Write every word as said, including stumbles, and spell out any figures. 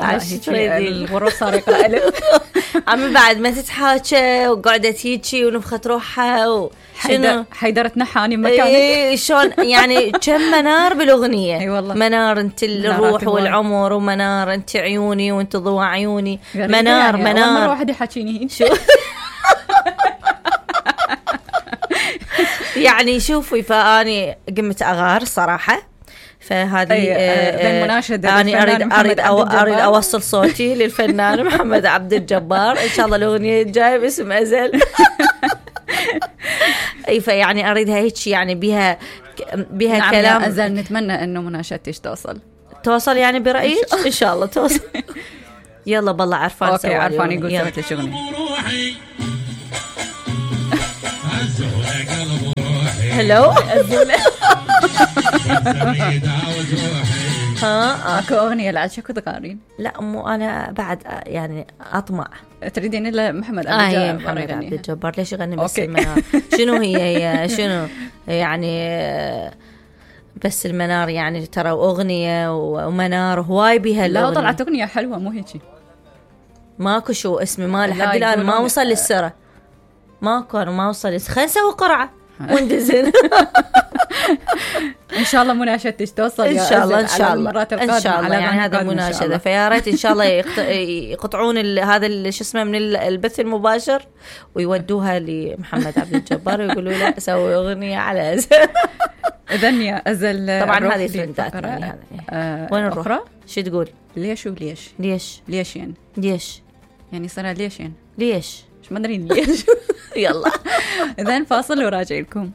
الغرور صار يقرأ له. عم بعد ما تتحاكى وقعدت هيجي ونفخت روحها وشنو حيدرة نحاني مكانك. ايه شلون يعني كم منار بالاغنيه. اي والله منار انت الروح والعمر، ومنار انت عيوني وانت ضوء عيوني. منار يعني منار مره واحده يحكيني هيك. يعني شوفي فاني قمت اغار صراحه. فهذه بين مناشدة أنا أريد أريد أو أريد أوصل صوتي للفنان محمد عبد الجبار. إن شاء الله الأغنية الجاية باسم أزل. أي فيعني أريدها هيك يعني بها بها نعم كلام أزل. نتمنى إنه مناشدتش توصل توصل يعني برأيك. إن شاء الله توصل. يلا بالله عرفان. أوكي عرفان يقول سويت لك أغنية. هلو ها اكو اغنيه لعد شكو تقارين؟ لا مو انا بعد يعني اطمع. تريدين الا محمد عبد الجبار؟ آه محمد عبد الجبار ليش يغني بس المنار؟ شنو هي هي شنو يعني بس المنار يعني ترى اغنيه ومنار هواي بها. لا طلعت اغنيه حلوه مو هيك. ماكو شو اسمي ما لحد الان ما وصل للسره. ماكو ما وصل. خلينا نسوي قرعه وندزن. ان شاء الله مناشدتك توصل ان شاء الله. ان شاء الله ان شاء الله يعني هذا مناشده. فيا ريت ان شاء الله يقطعون هذا شو اسمه من البث المباشر ويودوها لمحمد عبد الجبار ويقولوا له سوي اغنيه على أزل. اذن يا أزل طبعا هذه ترندات يعني آه وين نروح؟ شو تقول؟ ليش وليش ليش ليش يعني ليش يعني صار ليش يعني ليش مش ما ادري ليش. يلا اذن فاصل وراجع لكم.